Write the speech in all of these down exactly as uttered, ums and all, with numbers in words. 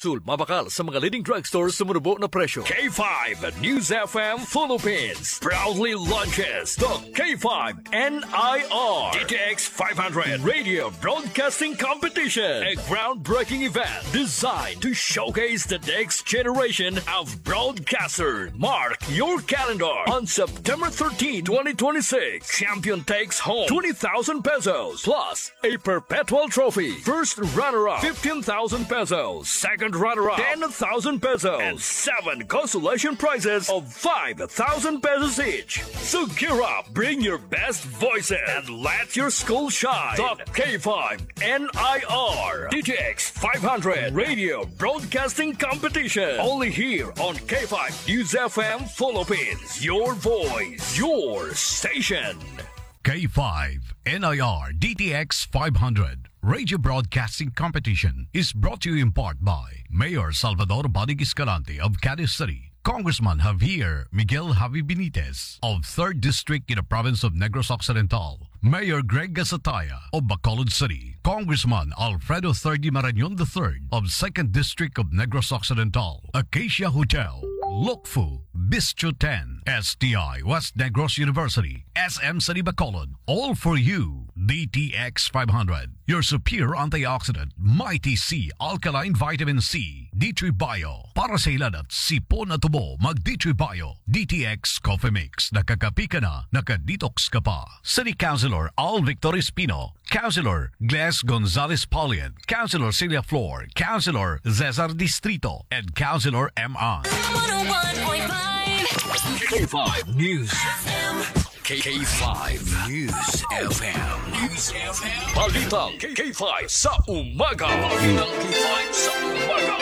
Capsule, mabakal sa mga leading drugstore sa manubo na presyo. K five News F M Philippines proudly launches the K five N I R D T X five hundred Radio Broadcasting Competition, a groundbreaking event designed to showcase the next generation of broadcasters. Mark your calendar on September thirteenth, twenty twenty-six. Champion takes home twenty thousand pesos plus a perpetual trophy. First runner-up, fifteen thousand pesos. Second runner-up, ten thousand pesos. And seven consolation prizes of five thousand pesos each. So gear up, bring your best voices, and let your school shine. The K five N I R D T X five hundred Radio Broadcasting Competition. Only here on K five News F M Philippines. Your voice, your station. K five N I R D T X five hundred Radio Broadcasting Competition is brought to you in part by Mayor Salvador Bonig Escalante of Cadiz City, Congressman Javier Miguel Javi Benitez of third District in the province of Negros Occidental, Mayor Greg Gasataya of Bacolod City, Congressman Alfredo Thirdy Marañon the third of second District of Negros Occidental, Acacia Hotel, Lokfu, Bistro ten, S T I West Negros University, S M City Bacolod, all for you. D T X five hundred, your superior antioxidant, Mighty C alkaline vitamin C, D three Bio. Para sa hilanat, sipon at tubo, mag D three Bio. D T X Coffee Mix, nakakapi ka na, naka-detox ka pa. City Councilor Al Victor Espino, Councilor Gles Gonzalez Paulian, Councilor Celia Flor, Councilor Cesar Distrito, and Councilor M I. One oh one point five. K five News F M. K five News F M. News F M. Balitang K five sa umaga. Balitang K five sa umaga.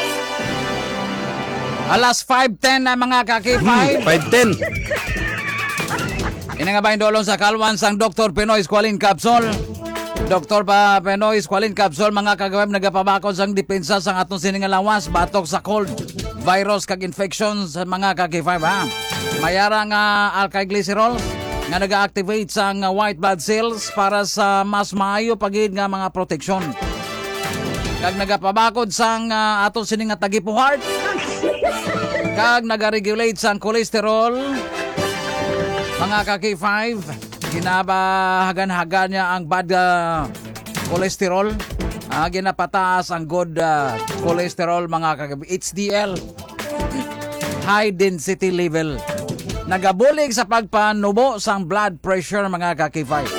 Alas five ten na, mga ka-K five. Hmm, five ten. Ini nga ba yung dulong sa kalwan sang Doktor Pinoy Squalene Capsule? Doktor pa Pinoy Squalene Capsule, mga ka-K five, nagapabakod sang depensa sang aton sini nga lawas batok sa cold, virus, kag infection sa mga ka-K five, ha? Mayara nga alkylglycerol nga naga-activate sang white blood cells para sa mas maayo pa gid nga mga proteksyon. Kag nagapabakod sang, ah, aton sini nga tagipuhart. Kag nagaregulate sang cholesterol. Mga ka-K five, ginabahagan-hagan niya ang bad, ah, cholesterol. Ah, ginapataas ang good, ah, cholesterol, mga ka-, H D L. High density level. Nagabulig sa pagpanubo sang blood pressure, mga ka-K five.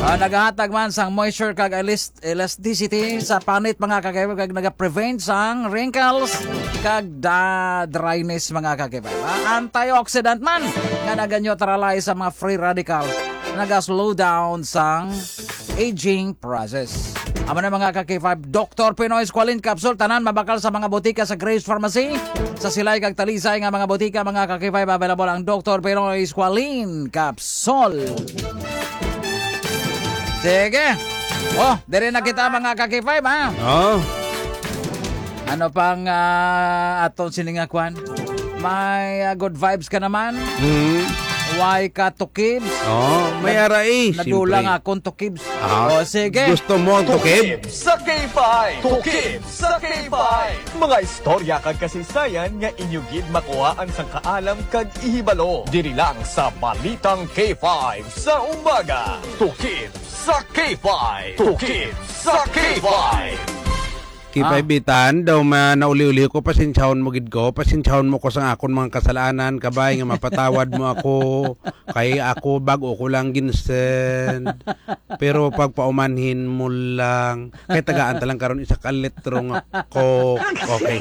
Ah, nagahatag man sang moisture kag elas-, elasticity sa panit, mga ka-K five, kag nagaprevent sang wrinkles kag da-, dryness, mga ka-K five. Ah, antioxidant man nga naga-neutralize sa mga free radicals, naga-slow down sang aging process. Amo na, mga ka-K five, Doktor Pinoy Squalene Capsule, tanan mabakal sa mga botika sa Grace Pharmacy. Sa Silay kag Talisay nga mga botika, mga ka-K five, available ang Doktor Pinoy Squalene Capsule. Sige. Oh, diri na kita, mga ka-K five, ha? Oh. Ano pang, ah, aton sini nga kwan? May, ah, good vibes ka naman. Mm. Why ka tukibs? Oh, may Nag-, aray, nadula siyempre. Nga akong tukibs. Ah, O, sige. Gusto mo ang tukib? Tukib sa K five. Tukib sa K five. Mga istorya kag kasaysayan nga inyo gid makuhaan sang kaalam kag ihibalo. Diri lang sa Balitang K five sa Umaga. Tukib sa K five. Tukib sa K five. K five Ah. Bitan, daw ma-, nauli-uli ko, pasensyahon mo gid ko, pasensyahon mo ko sa akon mga kasalanan, kabay nga mapatawad mo ako, kay ako bag-o ko lang ginsend. Pero pagpaumanhin mo lang, kay tagaan ta lang karon isa ka litro nga Coke. Okay.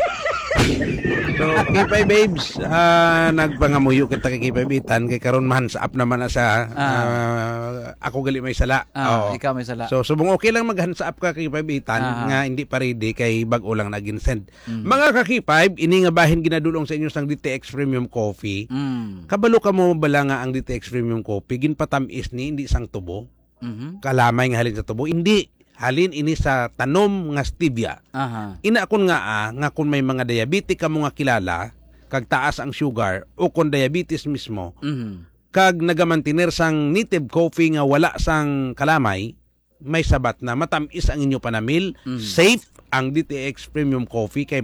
So, K five babes, ah, nagpangamuyo kita kay K five Bitan, kay karon ma-hands up naman na siya. Ah. Ah, ako gali may sala. Ah, Oo. Ikaw may sala. So, subong okay lang mag-hands up ka kay K five Bitan Ah. nga hindi pa ready kay bag-o lang na ginsend. Mm. Mga ka-K five, ini nga bahin ginadulong sa inyo sang D T X Premium Coffee. Mm. Kabalo ka mo bala nga ang D T X Premium Coffee, ginpatamis ni, hindi sang tubo? Mhm. Kalamay nga halin sa tubo? Hindi. Halin ini sa tanom nga stevia. Aha. Ina kon nga, ah, nga kon may mga diabetic ka mo nga kilala, kag taas ang sugar, o kon diabetes mismo, Mhm. kag nagamantener sang native coffee nga wala sang kalamay, may sabat na matamis ang inyo panamil, Mm. safe ang D T X Premium Coffee kay